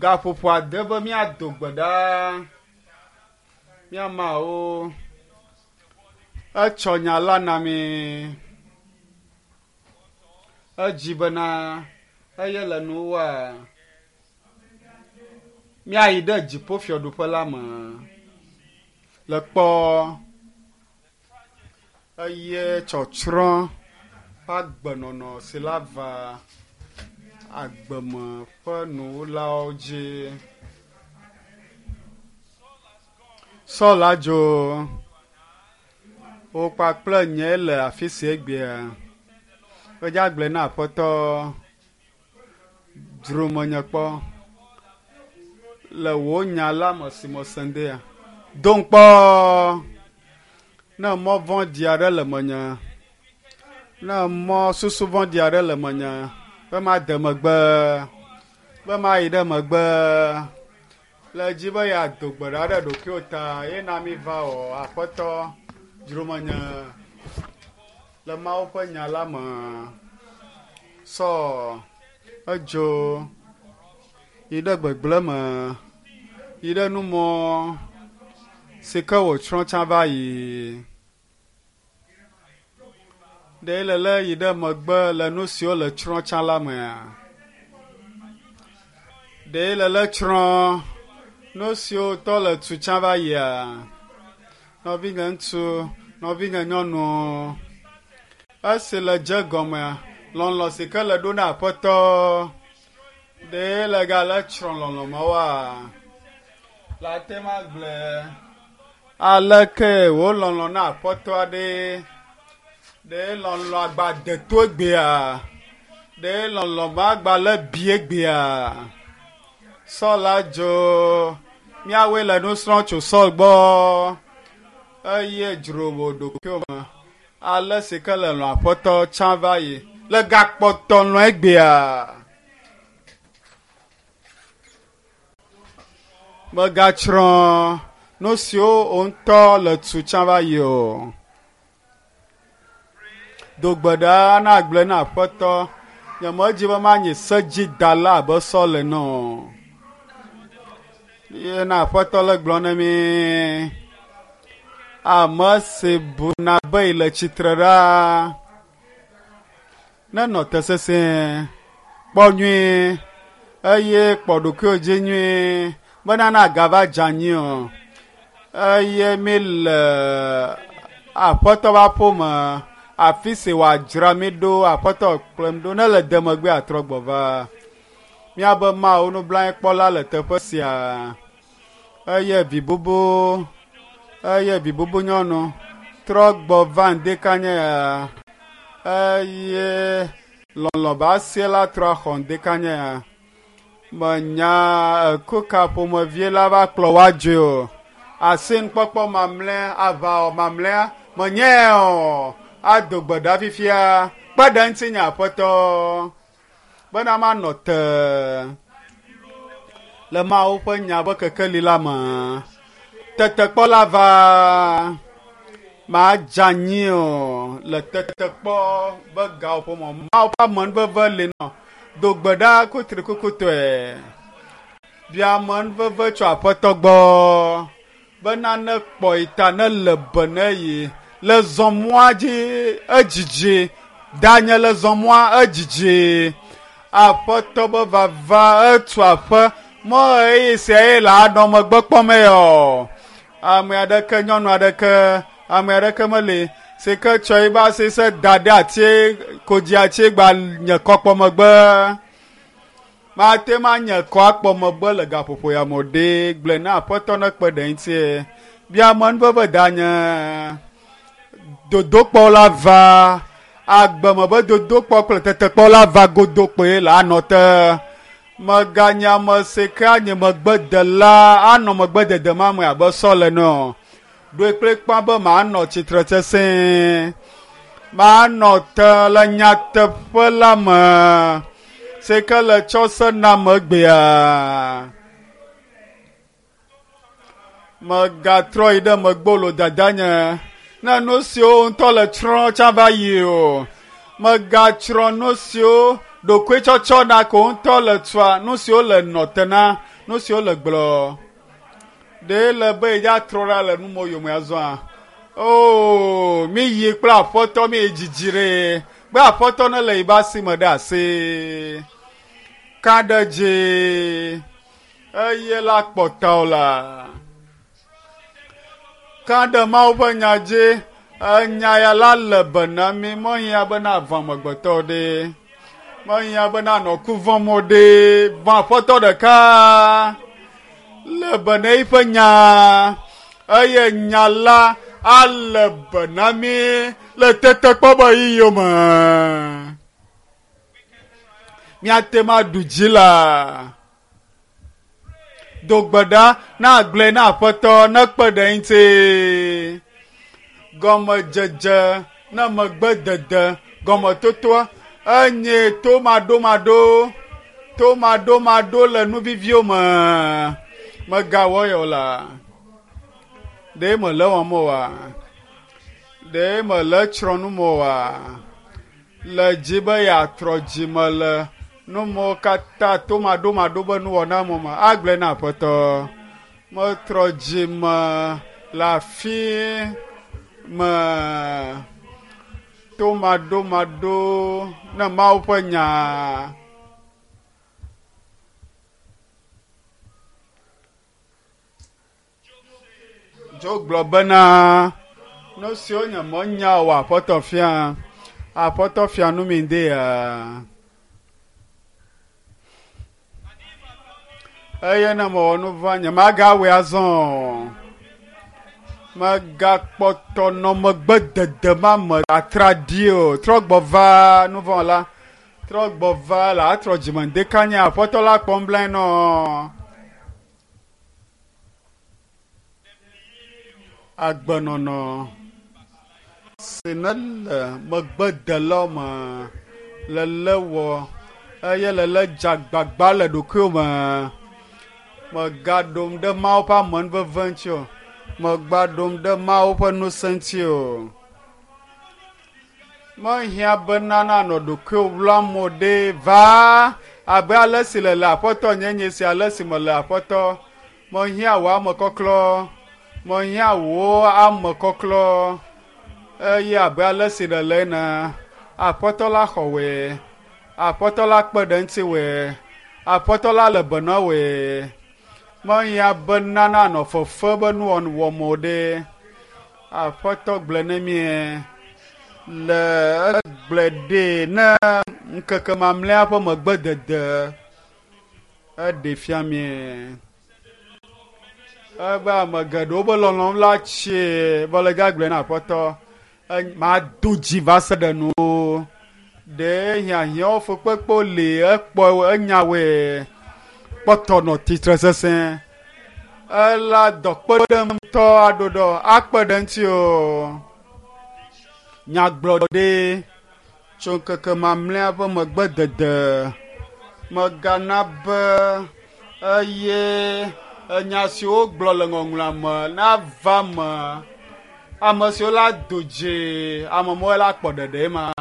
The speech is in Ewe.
Gaƒoƒo ade be míado gbe ɖa mía Mawu. Etsɔ nya la na mí. Edzi bena eye le nuwua míayi ɖe dziƒofiaɖuƒe la me le kpɔ eye tsɔtsrɔ̃ ƒe agbenɔnɔ si la va agbeme ƒe nuwulawo dzi. Saul adzo wo kpakple nye le afi si egbea. Medze agblɔe na Aƒetɔ dzro menye kpɔ le wò nya la me si mese ŋdea. Dom kpɔ ne mɔ vɔ̃ɖi aɖe le menye, ne mɔ susu vɔ̃ɖi aɖe le menye be made megbe, be mayi ɖe megbe. Le dzi be yeado gbe ɖa ɖe ɖokuiwò ta ye na mi va o Aƒetɔ dzro menye le Mawu ƒe nya la me. Sɔ edzo yi ɖe gbegblẽ me, yi ɖe numɔ si ke wòtsrɔ̃ tsã va yi. Ɖe le lé yi ɖe megbe le nu siwo le tsrɔ̃ tsã la mea? Ɖe le lé tsrɔ̃ nu siwo tɔ le tu tsã va yia? Nɔvinye ŋutsu, nɔvinye nyɔnu, esi le dze gɔmea, lɔlɔ̃ si ke le ɖo na Aƒetɔ, ɖe le gale tsrɔ̃ lɔlɔ̃ ma woa? Le ate ŋu agblɔe aleke wò lɔlɔ̃ na Aƒetɔ aɖe ɖe lɔlɔ̃ agba deto egbea? Ɖe lɔlɔ̃ ma agba le bi egbea? Saul adzo míawoe le nu srɔ̃m tso Saul gbɔ eye dzro wò ɖokuiwò me ale si ke le lɔ̃ Aƒetɔ tsã va yi le gakpɔtɔ lɔ̃ egbea. Mègatsrɔ̃ nu siwo wò ŋutɔ le tu tsã va yi o. Do gbe ɖa na agblɔe na Aƒetɔ. Nyemedi be manyi sedzidala abe Saul ene o. Ye na Aƒetɔ le gblɔ na mí. Ame si buna be yi le tsitre ɖaa, nenɔ te sesĩe, kpɔ nyuie eye kpɔ ɖokuiwò dzi nyuie bena nagava dze anyi o. Eye mi le Aƒetɔ ƒe aƒeme, afi si wòadzra mi ɖo, Aƒetɔ kplɔm ɖo ne le de megbe atrɔ gbɔ va. Míabe Mawu nublanuikpɔla le teƒe sia eye vi bubu eye vi bubu nyɔnu trɔ gbɔ va ŋdekanye ya eye lɔlɔ̃ be asie la trɔ axɔ ŋdekanye ya. Menya eku ka ƒomevie la va kplɔ woa dzoe o. Asinukpɔkpɔ mamlɛa, aʋawɔ mamlɛa, menyae o. Ado gbe ɖa fifia. Kpe ɖe ŋutinye Aƒetɔ bena manɔ te le Mawu ƒe nya ƒe kekeli la me. Tetekpɔ la va, madze anyi o le tetekpɔ be gawoƒo me. Mawu ƒe amenuveve li nɔ. Do gbe ɖa kutrikukutɔe. Bia amenuveve tso Aƒetɔ gbɔ bena ne kpɔ yi ta ne le be ne yi le zɔmɔa dzi edzidzi. Danye le zɔmɔa edzidzi. Aƒetɔ be vava etu aƒe mɔ ɣeyiɣi sia ye le anɔ megbe kpɔm eyɔ. Ame aɖeke nyɔnu aɖeke ame aɖeke meli si ke tsɔ eƒe asi se da ɖe ati kodzi ati gba nye kɔ kpɔ megbe. Mate ŋu anye kɔ akpɔ megbe le gaƒoƒo ya me o ɖe gblɔe na Aƒetɔ ne kpe ɖe ŋutie. Bia amenuveve danye. Dodokpɔ la va. Agbeme be dodokpɔ kple tetekpɔ la va godo kpoe le anɔ te. Mèganye ame si ke anye megbedela anɔ megbedede ma me abe Saul ene o. Ɖoe kplikpaa be manɔ tsitre sesĩe. Manɔ te le nyateƒe la me si ke le tsɔ se nam egbea. Mègatrɔ yi ɖe megbe o dadanye ne nu siwo ŋutɔ le tsrɔ̃ tsã va yi o. Mègatsrɔ̃ nu siwo ɖokuitsɔtsɔ na ko ŋutɔ le tua, nu siwo le nɔ te na. Nu siwo le gblɔ. Ɖe le be yedza trɔ ɖa le nu mo yome azɔa. Oo, mi yi kple aƒetɔ mi yi dzidzi ɖe. Be aƒetɔ ne le yibe asi me ɖe asi. Ka ɖe dzi. Eye la kpɔtɔ la. Ka ɖe Mawu ƒe nya dzi. Enya ya la le be na mi. Mehiã be na vɔ̃ amegbetɔ ɖe. Mehiã be na nɔ ku vɔ̃m o ɖe. Vɔ̃ aƒetɔ ɖeka. Le be na eƒe nya. Eye nya la ale be na mi le tetekpɔ be yiyiwo me. Míate ŋu aɖu dzi la. Do gbe ɖa na agblɔe na aƒetɔ nekpe ɖe eŋuti. Gɔmedzedze ne megbedede gɔmetotoa enye tomaɖomaɖo tomaɖomaɖo le nu viviwo me. Megawɔ yɔ la. Ɖe mele wɔm oa? Ɖe mele tsrɔ̃ nu me oa? Le dzi be yeatrɔ dzime le nu mawo katã tomaɖomaɖo be nuwɔna me me agblɔe na aƒetɔ. Metrɔ dzime le afi me tomaɖomaɖo ne Mawu ƒe nya. Dzo gblɔ bena, nu siwo nye menya o aƒetɔ fia, aƒetɔ fia nu mi de ya. Eye ne mewɔ nu vɔ̃, nyemagawɔe azɔ o. Megakpɔtɔ nɔ megbe dede ma me atraɖi o. Trɔ gbɔ va nu vɔ̃ la. Trɔ gbɔ va la atrɔ dzime ŋdeka nye aƒetɔ la kpɔm blae nɔ. Agbenɔnɔ si nele megbedelawo me lele wɔ eye lele dze agbagba le ɖokuiwò me. Mègaɖom ɖe Mawu ƒe amenuveve ŋuti o. Mègaɖom ɖe Mawu ƒe ŋusẽ ŋuti o. Mehiã bena nanɔ ɖokuiwò wlam o ɖe va abe ale si le le Aƒetɔ nyenye si ale si mele Aƒetɔ. Mehiã wò amekɔklɔ. Mehiã wò amekɔklɔ. Eye abe ale si nèle ene, Aƒetɔ la xɔ wòe. Aƒetɔ la kpe ɖe ŋutiwòe. Aƒetɔ la le be na wòe. Mehiã bena nanɔ fefe be nuwɔwɔ o ɖe. Aƒetɔ gblɔe ne mie le egblɔe ɖee ne ŋkeke mamlɛa ƒe megbedede eɖe fia mie. Ebe ame geɖewo be lɔlɔ̃m la tsie vɔ le gagblɔe na aƒetɔ mado dzi va se ɖe nu. Ɖe hiahiãwo fukpekpewo li ekpɔ enyawoe kpɔtɔ nɔ tsitre sesẽ. Ela dɔ kpe ɖe ŋutɔ aɖoɖɔ akpe ɖe ŋuti o. Nyagblɔɖi tso ŋkeke mamlɛa ƒe megbedede megana be eye enya siwo gblɔ le ŋɔŋlɔa me nava me. Ame siwo la do dzi, ame mawo la kpɔ ɖeɖe ma.